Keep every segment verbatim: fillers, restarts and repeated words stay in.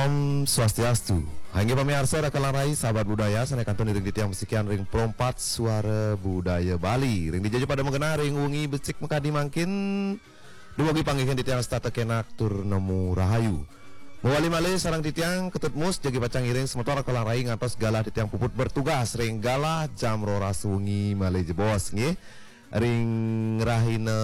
Om Swastiastu. Inggih pamiarsa, raka lan rai, sahabat budaya, sané kantun iring titiang masikian ring Pro empat Suara Budaya Bali. Ring dija ja pada magenah ring wengi becik makadi mangkin, dumugi panggihin titiang setata kenak tur nemu rahayu. Mawali malih sareng titiang Ketut Mus, jagi pacang ngiring semeton raka lan rai ngantos galah titiang puput bertugas ring galah jam roras wengi malih jebos, nggih. Ring rahina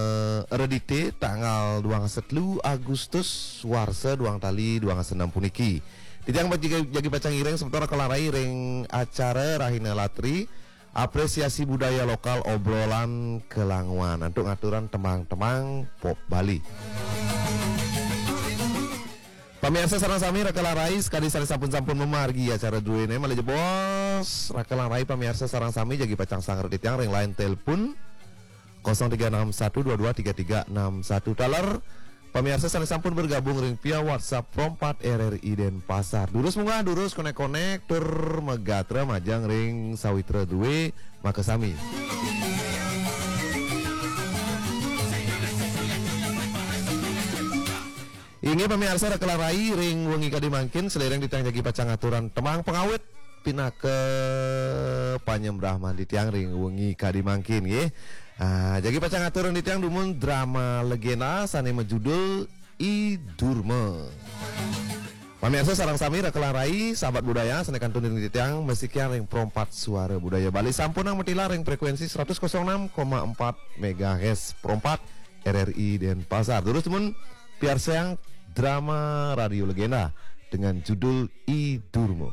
Redité tanggal duang dasa telu Agustus warsa duang tali duang dasa enam puniki. Titiang jagi, jagi pacang ngiring semeton raka lan rai ring acara Rahina Latri, apresiasi budaya lokal, obrolan kelanguan antuk ngaturang tembang-tembang pop Bali. Pamiarsa sareng sami, raka lan rai, sakadi sané sampun-sampun mamargi acara druéné malih jebos. Raka lan rai, pamiarsa sareng sami, jagi pacang sanggra titiang ring line telepon kosong tiga enam satu dua dua tiga tiga enam satu, taler pamiarsa sané sampun bergabung ring via WhatsApp Pro empat R R I Denpasar. Durus munggah, durus konek-konek, tur magatra majeng ring sawitra drué makasami. Inggih pamiarsa, raka lan rai, ring wengi kadi mangkin, saliring titiang jagi pacang ngaturang tembang pangawit pinaka panyembrahman titiang ring wengi kadi mangkin, nggih. Ah, jagi pacang ngaturang titiang dumun drama legenda sané majudul I Durma. Pamiarsa sareng sami, raka lan rai, sahabat budaya, sané kantun iring titiang masikian ring Pro empat Suara Budaya Bali, sampunang matilar ring frekuensi seratus kosong enam koma empat megahertz, Pro empat R R I Denpasar. Durus dumun piarsayang drama radio legenda dengan judul I Durma.